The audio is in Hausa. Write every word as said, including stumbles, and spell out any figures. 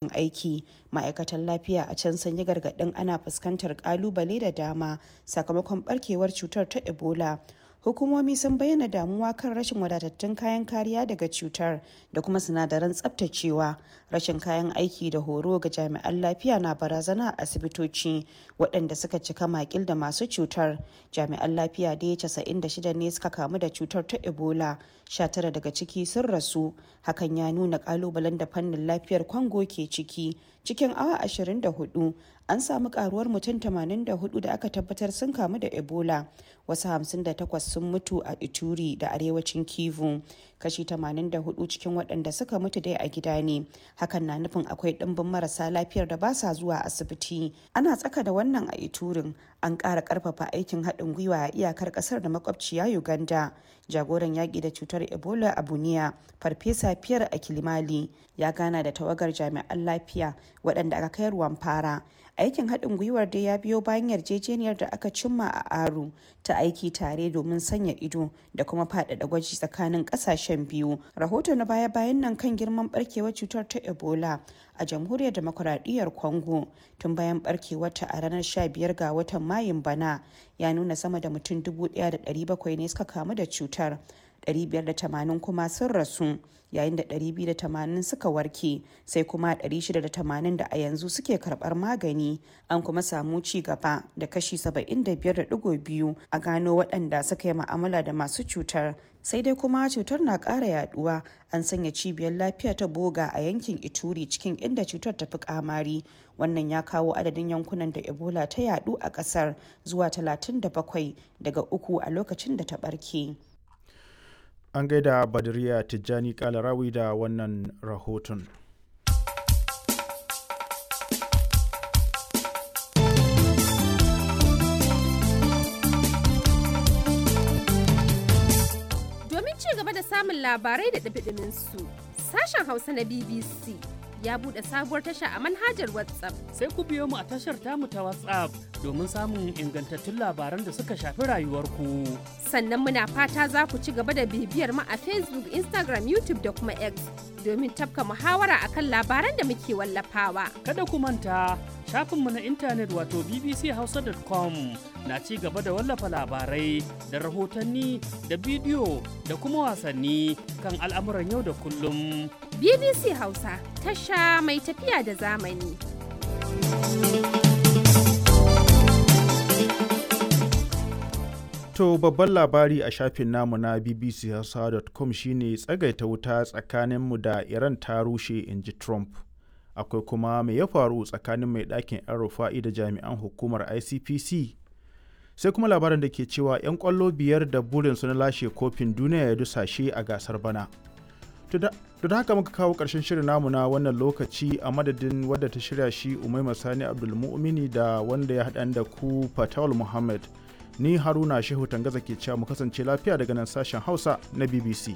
Aiki. Ma'aikatan lafiya a can sun yi gargaɗin ana fuskantar ƙalubale da dama sakamakon barkewar cutar ta Ebola. Hukumomi sun bayyana damuwa kan rashin wadatattun kayan kariya daga cutar da kuma sinadaran tsaftacewa. Rashin kayan aiki da horo ga jami'an lafiya na barazana a asibitoci waɗanda suka cika makil da masu cutar. Jami'an lafiya dai casa'in da shida ne suka kamu da cutar ta Ebola, sha tara daga ciki sun rasu. Hakan ya nuna ƙalubalen da fannin lafiyar Congo ke ciki. Cikin awa ashirin da huɗu an samu karuwar mutum tamanin da huɗu da aka tabbatar sun kamu da Ebola, wasu hamsin da takwas sun mutu a Ituri da arewacin Kivu. Kashi tamanin da huɗu cikin waɗanda suka mutu dai a gida ne. Hakan na nufin akwai ɗimbin marasa lafiyar da ba sa zuwa asibiti. Ana tsaka da wannan a Iturin, an ƙara ƙarfafa aikin haɗin gwiwa a iyakar ƙasar da makwabciya Uganda. Jagoran yaƙi da cutar Ebola a Bunia, Farfesa Pierre Akilimali, ya gana da tawagar jami'an lafiya waɗanda aka kai ruwan fara. Aikin haɗin gwiwar dai ya biyo bayan yarjejeniyar da aka cimma a Aru ta aiki tare domin sanya ido da kuma faɗaɗa gwaji tsakanin ƙasashen biyu. Rahoto na baya-bayan nan kan girman barkewar cutar ta Ebola a Jamhuriyar Demokuraɗiyyar Congo tun bayan barkewarta a ranar sha biyar ga watan Mayun bana ya nuna sama da mutum dubu ɗaya da ɗari bakwai ne suka kamu da cutar, ɗari biyar da tamanin kuma sun rasu, yayin da ɗari biyu da tamanin suka warke, sai kuma ɗari shida da tamanin da a yanzu suke karbar magani. An kuma samu ci gaba da kashi saba'in da biyar da digo biyu a gano waɗanda suka yi ma'amala da masu cutar. Sai dai kuma cutar na ƙara yaduwa. An sanya cibiyar lafiya ta Boga a yankin Ituri cikin inda cutar ta fi kamari. Wannan ya kawo adadin yankunan da Ebola ta yadu a ƙasar zuwa talatin da bakwai daga uku a lokacin da ta barke. An gaida Badriya Tijjani Kalarawi da wannan rahoton. Domin ci gaba da samun labarai da ɗumi su, sashen Hausa na B B C ya buɗe sabuwar tasha a manhajar WhatsApp. Sai ku biyo mu a tashar tamu ta WhatsApp domin samun ingantattun labaran da suka shafi rayuwarku. Sannan muna fata za ku ci gaba da bibiyar mu a Facebook, Instagram, YouTube da kuma X domin tafka muhawara akan labaran da muke wallafawa. Kada ku manta, shafinmu na intanet wato b b c hausa dot com na ci gaba da wallafa labarai da rahotanni da bidiyo da kuma wasanni kan al'amuran yau da kullum. B B C Hausa, tasha mai tafiya da zamani. To, babban labari a shafin namu na b b c hausa dot com shine tsagaita wuta tsakaninmu da Iran ta rushe, in ji Trump. Akwai kuma me ya faru tsakanin mai ɗakin 'yan Rufa'i da jami'an hukumar I C P C. Sai kuma labarin da ke cewa 'yan kwallo biyar da burinsu na lashe kofin duniya ya dusashe a gasar bana. To, da haka muka kawo ƙarshen shirin namu na wannan lokaci. A madadin wadda ta shirya shi, Umaima Sani Abdulmu'mini, da wanda ya haɗa da ku, Fatawul Muhammad. Ni Haruna Shehu Tangaza, ke cewa mu kasance lafiya daga nan sashen Hausa na B B C.